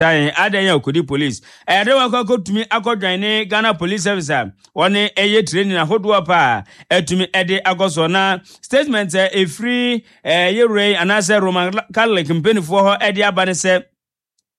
Tan adɛn a ɔkɔdi police. Ɛyɛ dɛ wakɔ akɔtumi akɔdwan ne Ghana Police Service a wɔne ɛyɛ training ahodoɔ paa atumi ɛde akɔ soɔ na statement a ɛfiri yɛwura yi anaasɛ Roman Catholic mpanimfoɔ hɔ ɛde aba ne sɛ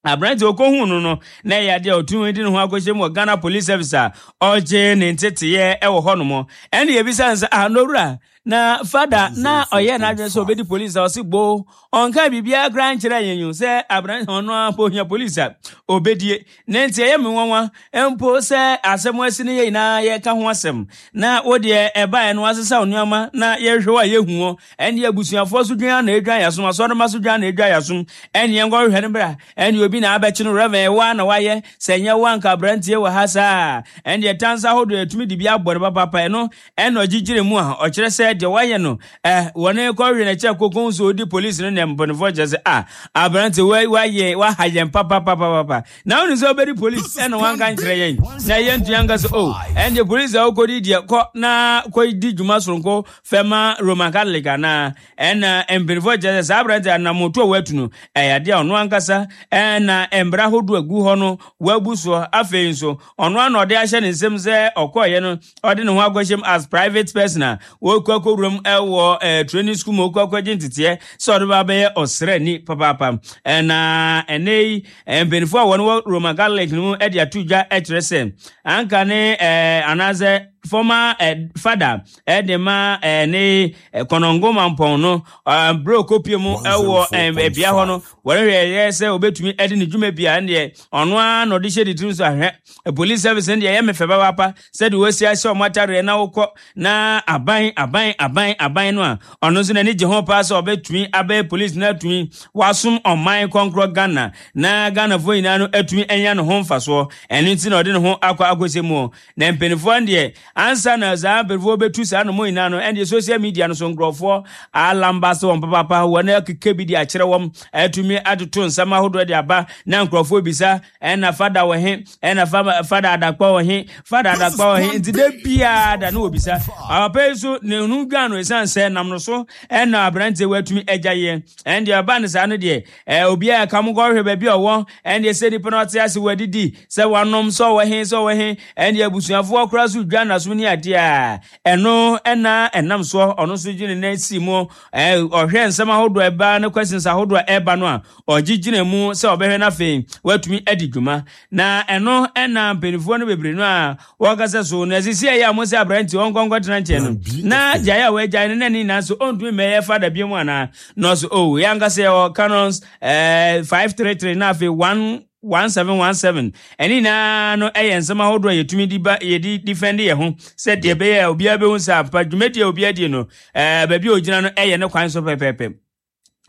aberante ɔkɔhuu no no na ɛyɛ adeɛ a ɔtumi de ne ho akɔhyɛ mu wɔ Ghana Police Service a ɔgye ne nteteeɛ ɛwɔ hɔ nom ɛne yɛbisa no sɛ ah nowura na fada na ɔyɛ n'adwene sɛ ɔbɛdi polisi a ɔse gboo ɔnka biribiara koraa nkyerɛ yɛn yi sɛ aberante ɔno ara mpo ohia polisi a ɔbɛdie ne nti ɛyɛ me nwanwa mpo sɛ asɛm asi no yɛ nyinaa yɛka ho asɛm na wo deɛ ɛbaeɛ no asesa wo nneɛma na yɛhwɛ wo a yɛhu hɔ ɛne abusuafoɔ so dwan na ɛdwan yɛasom asɔrema so dwan na ɛdwan yɛasom ɛne yɛnkɔhwehwɛ no bra ɛne obi na abɛkye no rɛvɛn ɛwɔ a na wayɛ sɛ nyɛ wo anka aberanteɛ wɔ ha saa ɛne ɛtansa ahodoɔ ɛtumi de bi abɔ no papapa ɛno Ɛna ɔgyigyiri mu a ɔkyerɛ sɛ deɛ wayɛ no eh, wɔne kɔhwe n'akyi a kɔkɔn so ɔdi polisi no nea mpanyinfoɔ kyerɛ sɛ ah aberante wayɛ waha yɛn papapapapa na wone sɛ wobɛdi polisi ɛna wanka nkyerɛ yɛn na yɛntua nka sɛ oh ɛndeɛ polisi a wokɔdi deɛ kɔ na kɔdi dwuma soronko fɛma Roman Catholic anaa ɛna mpanyinfoɔ kyerɛ sɛ saa aberante anamoto a watu no ɛyɛ adeɛ a ɔno ankasa ɛna mbra ahodoɔ agu hɔ no wabu soɔ afei nso Ɔno ara na ɔde ahyɛ ne nsam sɛ ɔkɔeɛ no ɔde ne ho akɔhyɛ mu as private person a wɔkɔ akɔwura mu wɔ eh, training school mu ɔkɔ akɔgye nteteɛ sɛ ɔde ba bɛyɛ ɔsraani papaapa. Na ɛnɛ yi mpanimfoɔ a wɔn wɔ Roman Catholic no mu de ato dwa kyerɛ sɛ anka ne eh, anaasɛ former eh, father de ma eh, ne Kɔnɔngo Mampɔn no berɛ ɔkɔpie mu wɔ bea hɔ no Wɔhwɛ yɛ sɛ obetumi de ne dwuma bi a ɛndeɛ ɔno ara na ɔde hyɛ ne tirim so ahwɛ. Police service no deɛ ɛyɛ me fɛ papaapa sɛdeɛ wɔasi ahyɛ wɔn atadeɛ na wokɔ na aban aban aban aban no a ɔno nso n'ani gye ho paa sɛ ɔbɛtumi abɛyɛ police na atumi wasom ɔman kɔnkorɔ Ghana na Ghanafoɔ nyinaa no atumi anya ne ho mfasoɔ. Ɛno nti na ɔde ne ho akɔ akɔhyɛ mu. Na mpanimfoɔ no deɛ ansa na saa mpanimfoɔ bɛtu saa nomɔ nyinaa no ɛndeɛ social media no so nkurɔfoɔ alamba so wɔn papaapa wɔn akeka bi de akyerɛ wɔn atumi atoto nsɛm ahodoɔ de aba na nkurɔfoɔ bisa ɛna fada wɔ he ɛna fada adakpa wɔ he fada adakpa wɔ he nti da biara da no wɔbisa papa yi so ne ho dwan no ɛsiane sɛ nam no so ɛna aberanteɛ watumi agya yɛ ɛndeɛ ɔba no saa no deɛ Ɛɛ, obiara ɛka mo nkɔhwɛ baabi a ɔwɔ, ɛndeɛ sɛ nipa no ɔte ase wadidi, sɛ wanom, sɛ ɔwɔ he, sɛ ɔwɔ he, ɛndeɛ abusuafoɔ koraa so dwa n'asom ne adeɛ a, ɛno ɛna ɛnam soɔ, ɔno nso gye ne nan si mu, ɛɛ, ɔhwɛ nsɛm ahodoɔ a ɛba ne questions ahodoɔ a ɛba no a, ɔgye gyina mu sɛ ɔbɛhwɛ no afei watumi adi dwuma. Na ɛno ɛna mpanimfoɔ no bebree no a Wɔka sɛ, So na ɛsɛ sɛ ɛyɛ a mo sɛ aberante ɔnkɔ nkɔtena nkyɛn no, na gyae a wɔagyae no na ne nyinaa so ɔntumi mmɛyɛ fada bio mu anaa? Na ɔse, Oh, yɛn ankasa yɛwɔ canons eh, 533 na afei 1 1717 ɛne nyinaa no ɛyɛ nsɛm ahodoɔ a yɛtumi de ba yɛde defend yɛn ho sɛ deɛ ɛbɛyɛ a obiara bɛhu sɛ ampa dwumadi a obiara die no ɛɛ baabi a ogyina no ɛyɛ ne kwan so pɛpɛɛpɛ.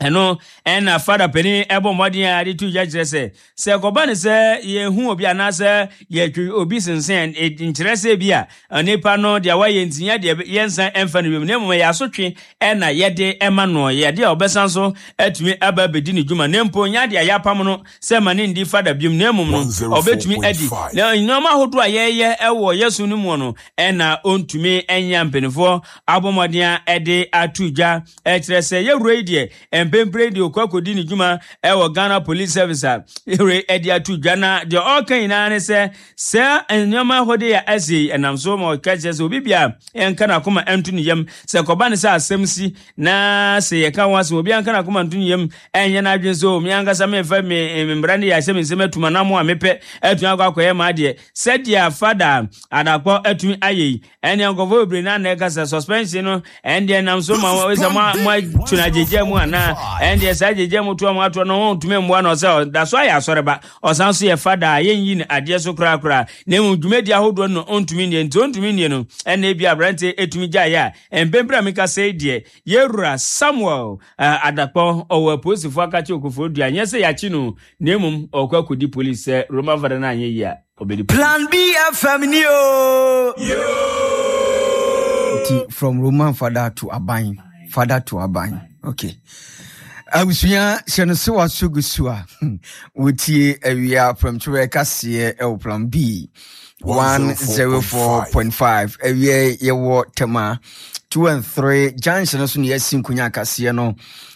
Ɛno ɛna fada panin ɛbɔ mmɔden a de to dwa kyerɛ sɛ sɛ ɛkɔba ne sɛ yɛhu obi anaasɛ yɛtwe obi sensɛn nkyerɛ sɛ bi a nipa no deɛ wayɛ nti nyɛ deɛ yɛnsan ɛmfa no wiem na mmom ɛyɛ asotwe ɛna yɛde ɛma no yɛ adeɛ a ɔbɛsan so atumi aba abɛdi ne dwuma na mpo nyɛ adeɛ a yɛapam no sɛ ma ne ndi fada biom na mmom no ɔbɛtumi adi na nneɛma ahodoɔ a yɛyɛ ɛwɔ yɛso no mu no ɛna ɔntumi ɛnyɛ mpanimfoɔ abɔ mmɔden a ɛde ato dwa Ɛkyerɛ sɛ yɛwura yi deɛ mpempere deɛ ɔkɔ akɔdi ne dwuma ɛwɔ Ghana Police Service a yɛwura yi ɛde ato dwa na deɛ ɔreka nyinaa ne sɛ sɛ nneɛma ahodoɔ a ɛsi yi ɛnam so ma ɔka kyerɛ sɛ obi bia ɛnka n'akoma ɛnto ne yam sɛ kɔba ne sɛ asɛm si na sɛ yɛka ho asɛm obi anka n'akoma nto ne yam ɛnyɛ n'adwene sɛ omi ankasa memfa me mmara ne yɛ ahyɛ me nsɛm atum anam a mepɛ atumi akɔ akɔyɛ m'adeɛ sɛdeɛ fada adakɔ atumi ayɛ yi Ɛnneɛ nkurɔfoɔ bebree na na ɛka sɛ suspension no ɛndeɛ nam so ma wɔn sɛ mo mo atu no agyegya mu anaa ɛndeɛ saa agyegya mu toa mo atoɔ no wɔn ntumi mmoa no sɛ ɔda so ayɛ asɔreba ɔsan so yɛ fada a yɛnyi no adeɛ so korakora na mmom dwumadi ahodoɔ no ɔntumi nnie nti ɔntumi nnie no ɛnna ebi aberante ɛtumi gyaeɛ a mpempere a meka sɛ deɛ yɛwura Samuel Adakpɔ ɔwɔ apolisifoɔ akakye Okofoɔ dua nyɛ sɛ yɛakye no na mmom ɔkɔ akɔdi polisi sɛ Roman fada no anyɛ yie a ɔbɛdi polisi. Plan B FM ni o. Nti from Roman father to aban, father to aban. Okay. Abusua hyɛ no so waso gu so a wotie awia prɛmtoberɛ kaseɛ ɛwɔ Plan B 104.5 awia yɛwɔ Tema 2 and 3 junction no so ne yɛasi nkonya akaseɛ no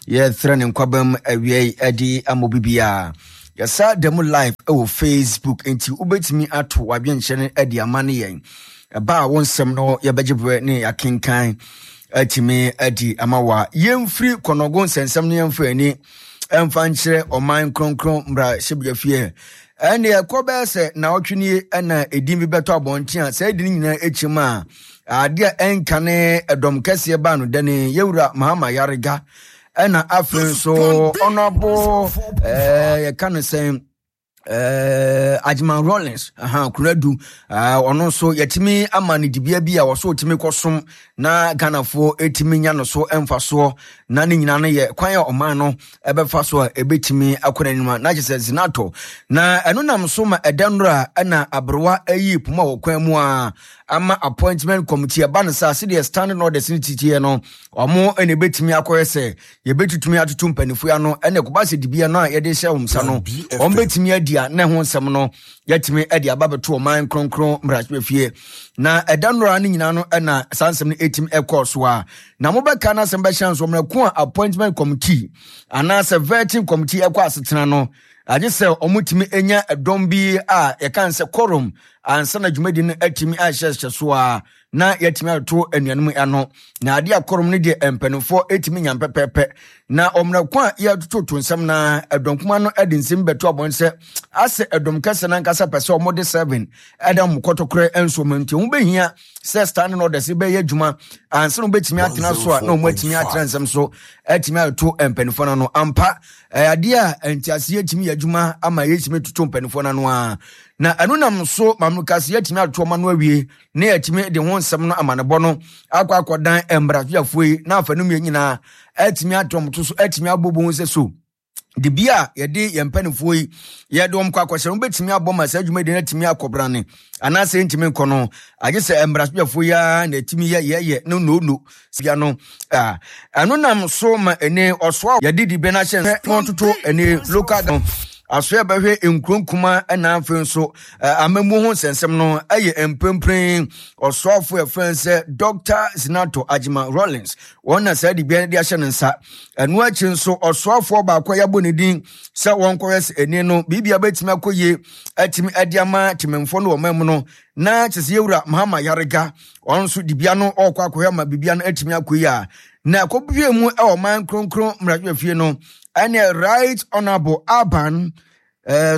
yɛtrɛ ne nkwabam awia yi adi ama obi biara. Yɛsa da mu live wɔ Facebook nti wobɛtumi ato w'adwenkyerɛ no de ama ne yɛn. Ɛba a wo nsɛm no yɛbɛgye berɛ ne yɛakenkan atumi adi ama wa. Yɛmfiri kɔnɔgo nsɛnsɛm no yɛmfa ani ɛmfa nkyerɛ ɔman kronkron mmarahyɛbadwafie. Ɛnneɛ ɛkɔ bɛyɛ sɛ naawɔtwe nie ɛna edin bi bɛtɔ abɔnten a saa edin nyinaa akyi mu a adeɛ a ɛnka ne ɛdɔm kɛseɛ baa no dɛne yɛwura Mahama Yarega ɛna afei nso ɔnɔbo ɛɛ yɛka no sɛn Agyeman Rawlings aha Kunadu ɔno nso yɛtumi ama no dibea bi a wɔso ɔtumi kɔsom na Ghanafoɔ ɛtumi nya no so mfasoɔ na ne nyinaa no yɛ kwan a ɔman no ɛbɛfa so a ɛbɛtumi akɔ n'anim na kyerɛ sɛ Zinato na ɛno nam so ma ɛda nnora ɛna aberewa ayi poma wɔ kwan mu a ama appointment committee ɛba no saa sɛdeɛ standing orders no titiɛ no ɔmo ɛna ɛbɛtumi akɔyɛ sɛ yɛbɛtutumi atoto mpanimfoɔ ano ɛna ɛkɔba sɛ dibea no a yɛde hyɛ wɔn nsa no wɔn bɛtumi adi a na ɛho nsɛm no yɛtumi de aba bɛto ɔman kronkron mmarahyɛfie na ɛda nnora no nyinaa no ɛna saa nsɛm no ɛtumi ɛkɔɔ so a na mobɛka no asɛm bɛhyɛ nso mmerɛ ko a appointment committee anaasɛ vetting committee ɛkɔ asetena no agye sɛ wɔtumi nya ɛdɔm bi a yɛka sɛ quorum ansa na dwumadi no atumi ahyɛhyɛ so a na yɛatumi atoto anuanom ano na ade a kɔrɔm no deɛ mpanimfoɔ ɛtumi nya pɛpɛɛpɛ na ɔmmerɛ ko a yɛtototo nsɛm na ɛdɔm kuma no de nsɛm bɛto abɔn sɛ asɛ ɛdɔm kɛsɛ no ankasa pɛ sɛ wɔde seven ɛda wɔn kɔtɔkorɛ nso mu nti ho bɛhia sɛ standing orders bɛyɛ adwuma ansa na wɔbɛtumi atena so a na wɔn atumi atena nsɛm so atumi atoto mpanimfoɔ no ano ampa adeɛ a nteaseɛ atumi yɛ adwuma ama yɛtumi toto mpanimfoɔ no ano a na ɛno nam so mamukase yɛatumi atoto ɔma no awie na yɛatumi de ho nsɛm no amanebɔ no akɔ akɔdan mmarahyɛfoɔ yi na afa no mmienu nyinaa atumi atɔm to so atumi abɔbɔ ho sɛ so de bi a yɛde yɛn mpanimfoɔ yi yɛde wɔn kɔ akɔhyɛ no bɛtumi abɔ ma saa dwumadi no atumi akɔbrane anaasɛ ntumi nkɔ no agye sɛ mmarahyɛfoɔ yi ara na ɛtumi yɛ yɛyɛ no no no bia no ɛno nam so ma ɛne ɔsoa yɛde di bɛ no ahyɛ na ɔtoto ɛne local no asoɛ bɛhwɛ nkuro nkuma ɛna afei nso amammuo ho nsɛnsɛm no ɛyɛ mprempren ɔsoafo ɛfrɛ sɛ Dr. Zinato Agyeman Rawlings wɔn na saa dibea no de ahyɛ ne nsa. Ɛno akyi nso ɔsoafoɔ baako a yɛabɔ ne din sɛ wɔnkɔhwɛ sɛ ɛni no biribia bɛtumi akɔ yie atumi ade ama temamfoɔ no wɔ ɔman mu no na kyɛ sɛ yɛwura Mahama Yarega ɔno nso dibea no ɔrekɔ akɔhwɛ ama biribia no atumi akɔ yie a na ɛkɔbue mu ɛwɔ ɔman kronkron mmarahyɛfie no ɛne Right Honorable Alban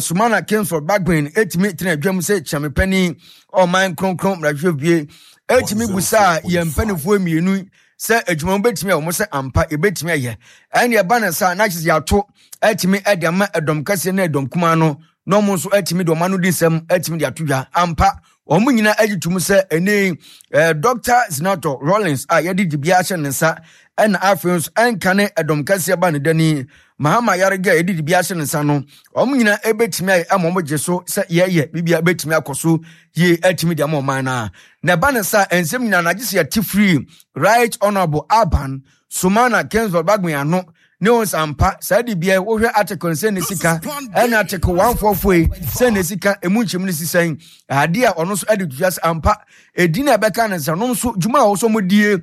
Sumana Kingsford Bagbin etumi tena adwam sɛ kyiamepanin ɔman kronkron mmarahyɛbie etumi busaa yɛn mpanimfoɔ mmienu sɛ adwuma mu betumi a wɔn sɛ ampa ebetumi ayɛ ɛne ɛba ne saa na kyerɛ yɛato atumi de ama ɛdɔm kɛseɛ ne ɛdɔm kumaa no na wɔn nso atumi de wɔn ano di nsɛm atumi de ato dwa ampa wɔn nyinaa agye tom sɛ ɛne eh, Dr. Senator Rawlings a yɛde dibea ahyɛ ne nsa ɛna afei nso ɛnka ne ɛdɔm kɛseɛ ba ne dani Mahama yarega a yɛde dibea ahyɛ ne nsa no wɔn nyinaa ɛbɛtumi ayɛ ama wɔn gye so sɛ yɛyɛ biribi a ɛbɛtumi akɔ so yie atumi de ama ɔman no a na ɛba ne sa nsɛm nyinaa na agye sɛ yɛte firi Right Honourable Alban Sumana Kingsford Bagbin ano ne wɔn sɛ ampa saa dibea wohwɛ article sɛ ne sika ɛna article 144 yi sɛ ne sika emu nkyɛmu ne sisɛn adeɛ a ɔno nso ɛde tutua sɛ ampa ɛdi na ɛbɛka ne nsa nom so dwuma a wɔsɔ mo die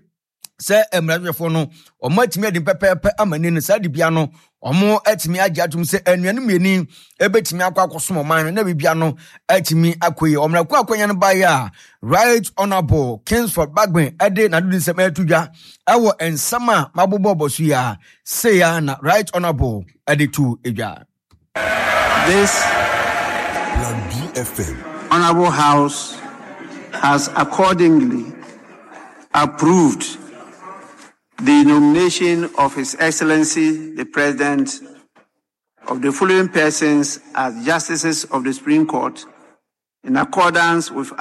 sɛ mmarahyɛfoɔ no wɔn atumi adi pɛpɛɛpɛ ama ni no saa dibea no wɔn atumi agye atom sɛ anuanom mmienu ebetumi akɔ akɔsom ɔman no na bibia no atumi akɔ yie wɔn akɔ akɔnya no baeɛ a Right Honourable Kingsford Bagbin ɛde n'adodi nsɛm ɛto dwa ɛwɔ nsɛm a mabobɔ bɔ so yi a sei a na Right Honourable ɛde to dwa. This Plan BFM. Honorable House has accordingly approved the nomination of His Excellency the President of the following persons as Justices of the Supreme Court in accordance with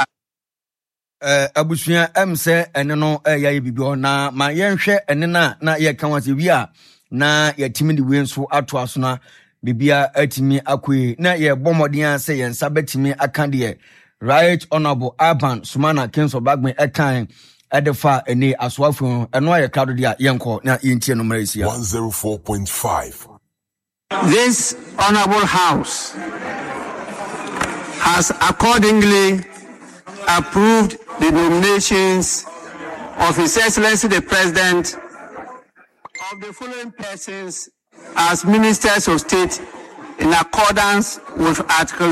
Abusua ɛm sɛ ɛne no ɛyɛ ayɛ biribi hɔ na ma yɛnhwɛ ɛne no a na yɛka ho asɛ wie a na yɛtumi de wei nso ato aso na biribia atumi akɔ yi na yɛbɔ mmɔden a sɛ yɛn nsa bɛtumi aka deɛ Right Honorable Alban Sumana Kingsford Bagbin ɛkan ɛde fa ɛne asoafo ho ɛno ayɛ krado deɛ a yɛnkɔ na yɛntie no mmerɛ ɛsia. 104.5. This Honorable House has accordingly approved the nominations of His Excellency the President of the following persons as Ministers of State In accordance with Article